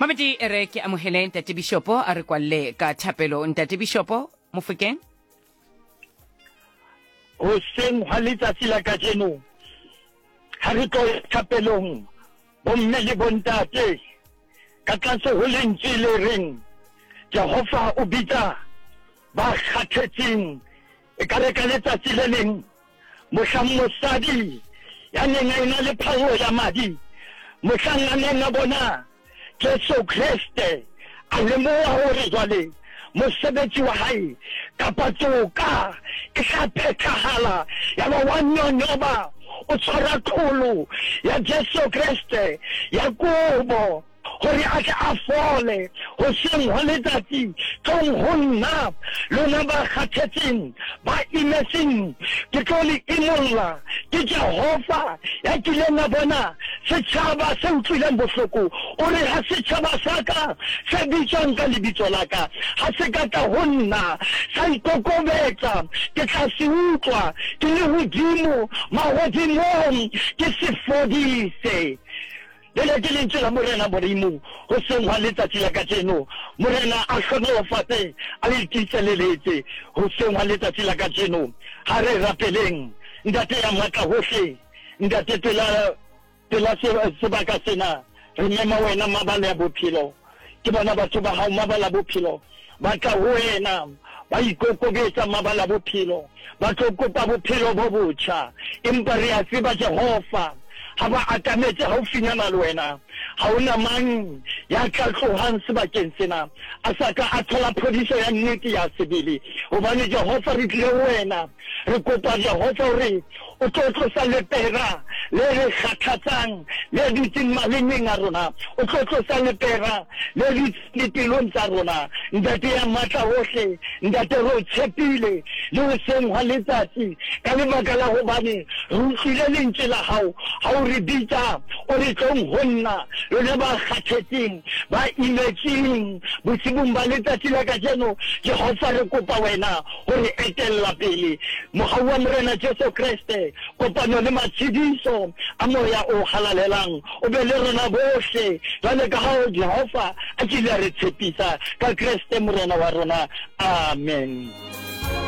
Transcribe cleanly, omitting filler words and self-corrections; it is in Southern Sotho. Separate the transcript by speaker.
Speaker 1: Mamedi e re ke amohele Ntate Bishopo a re kwalle ka thapelo. Ntate Bishopo Mofokeng.
Speaker 2: Hoseng hwa letsatsi la kajeno ha re tlo ya thapelong bomme le bontate ka tlase ho lentswe le reng Jehova o bitsa ba kgathetseng. E ka re ka letsatsi le leng mohlang mosadi ya neng a ena le phallo ya madi, mohlang a neng a bona Jesu Kreste, a lemoha hore jwale mosebetsi wa hae kapa toka e tla phethahala, yaba wa nyonyoba, o tshwara qholo ya Jesu Kreste ya kobo. Gore a tle a fole. Hoseng hwa letsatsi, tlong ho nna, lona ba kgathetseng, ba imetseng, ke tlo le imolla. Ke Jehofa ya kileng a bona setjhaba se utlwileng bohloko. O re, Ha setjhaba sa ka se bitswang ka lebitso la ka ha se ka tla ho nna, sa ikokobetsa, ke tla se utlwa ke le hodimo mahodimong, ke se fodise. Lena ke lentswe la Morena Modimo hoseng hwa letsatsi la kajeno. Morena a hlohonolofatse, a le tiiseleletse hoseng hwa letsatsi la kajeno. Ha re rapeleng. Ntate ya matla hohle, Ntate, pela, pela sebaka sena, re mema Wena, mabala ya bophelo. Ke bona batho ba Hao, mabala bophelo, ba tla ho Wena, ba ikokobetsa, mabala bophelo, ba tlo kopa bophelo bo botjha. Empa re a tseba, Jehova, ha ba atametse haufinyana le Wena, ha ho na mang ya tla tlohang sebakeng sena a sa ka a thola phodiso ya nnete ya sebele. Hobane, Jehova, re tlile ho Wena, re kopa, Jehova, hore O tlo tlosa lepera le re kgathatsang le dutseng malemeng a rona. O tlo tlosa lepera le dutseng dipelong tsa rona. Ntate ya matla wohle, Ntate, re o tshepile le hoseng hwa letsatsi ka lebaka la hobane re utlwile lentswe la hao ha o re bitsa, o re, Tlong ho nna, lona ba kgathetseng, ba imetsweng. Bosibung ba letsatsi la kajeno, Jehova, re kopa wena ho re etella pele. Mohau wa Morena Jesu Kreste, kopano le matshediso a Moya o Halalelang o be le rona bohle, jwale ka ha Jehova a kile a re tshepisa ka Kreste Morena wa rona. Amen.